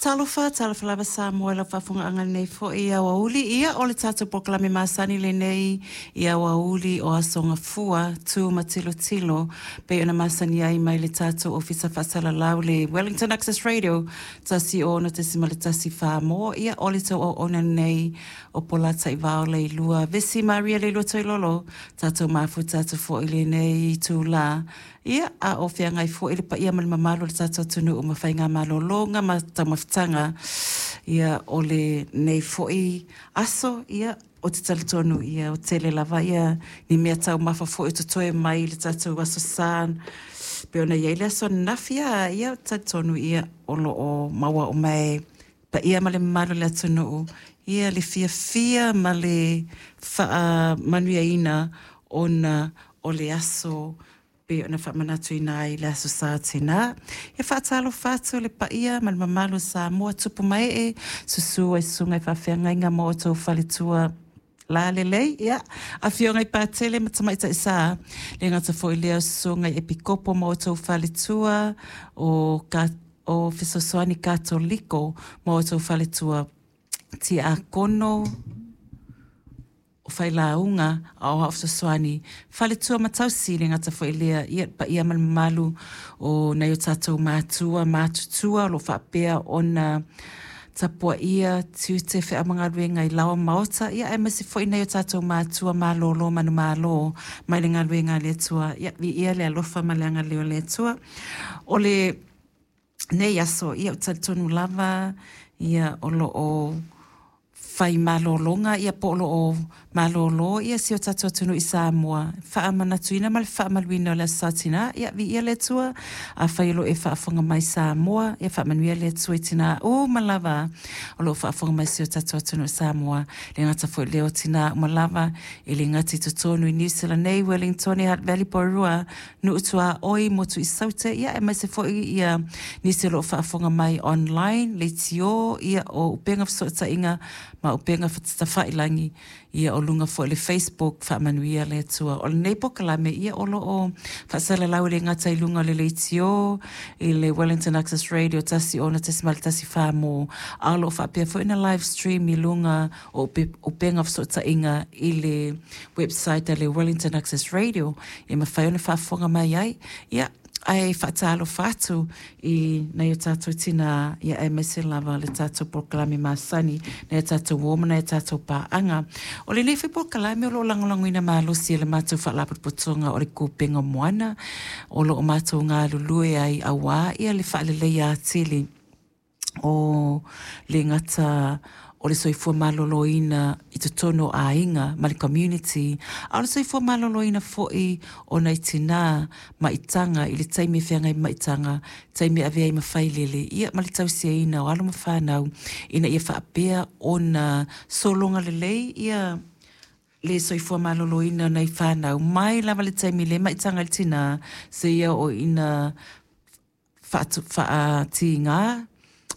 Talofa, talofa lava Samoa i lau faafofogaaga i lenei foi aoauli. Ia, o le tatou polokalame masani lenei i aoauli o Aso Gafua, tu ma tilotilo, pei ona masani ai mai le tatou Ofisa Faasalalau le Wellington Access Radio 106.1 Mo. Ia, o le tou auauna lenei o Polataivao Leilua Vesi Maria Leilua Toilolo, tatou mafuta atu foi i lenei itula. Ia, a o feagai foi le paia ma le mamalu o le tatou atunuu ma faigamalologa ma taumafataga, ia, o lenei foi aso, ia, ou te talitonu, ia, ua tele lava ia ni mea taumafa foi o totoe mai i le tatou Aso Sa, pei ona i ai le aso ananafi, a, ia, ou te talitonu, ia, o lo o maua uma e paia ma le mamalu o le atunuu, ia, le fiafia ma le faamanuiaina ona o le aso pei ona faamanatuina ai le Aso Sa tina. E faatalofa atu i le paia ma le mamalu o Samoa, tupu ma ee, susu ai susuga i faafeagaiga ma outou faletua lalelei, ia, afioga i Patele ma Tamaitai Sa, le gata foi lea o susuga i Epikopo ma outou faletua, o, ka, o Fesoasoani Katoliko ma outou faletua Tiakono, o Failauga, Aoao Fesoasoani, Faletua ma Tausi, le gata foi lea, ia, le paia ma le mamalu o nai o tatou matua matutua o lo o faapea ona tapuaia tiute, feau ma galuega i laoa ma maota, ia, aemaise foi nai o tatou matua malolo manumalo mai le galuega a le Atua. Ia, viia le alofa ma le agalelei o le Atua. O le nei aso, ia, ou te talitonu lava, ia, o lo o fai malologa, ia, po o lo o malolo, ia, si o tatou atunuu i Samoa, faamanatuina ma le faamaluina o le Aso Sa Tina. Ia, viia le Atua. Afai o lo o e faafofoga mai Samoa, ia faamanuia le Atua i tina uma lava o lo o faafofoga mai si o tatou atunuu i Samoa. Le gata foi lea o tina uma lava, e le gata i totonu i Niu Sila nei, Wellingtone, Hutt Valley, Porirua, Nuu Tuaoi, Motu i Saute, ia aemaise foi ia nisi o lo o faafofoga mai online, leitio, ia o upega fesootaiga ma upega tafailangi, ia o luga foi o le Facebook, faamanuia le Atua. O lenei polokalame, ia o lo o faasalalau e le gata i luga o le leitio, i le Wellington Access Radio 106.1 mo, a o lo o faapea foi ona live stream i luga o upega fesootaiga i le website a le Wellington Access Radio e mafai ona faafofoga mai ai. Ia, ae faatalofa atu i nai o tātou tinā, ia aemaise lava le tātou polokalame masani, nai o tātou uo ma nai o tātou pāaga. O lenei foi polokalame o lo o lagolagoina malosi e le matou Faalapotopotoga o le Kupenga o Moana, o lo o matou galulue ai auā ia le faaleleia atili o le gata o le soifua maloloina i totonu o aiga ma le community, a o le soifua maloloina foi o nai tinā maitaga i le taimi e feagai ma maitaga, taimi e avea ai ma failele, ia ma le tausiaina o alo ma fanau ina ia faapea ona sologa lelei ia le soifua maloloina o nai fanau mai lava le taimi le maitaga i le tinā seia oo ina faatīgā.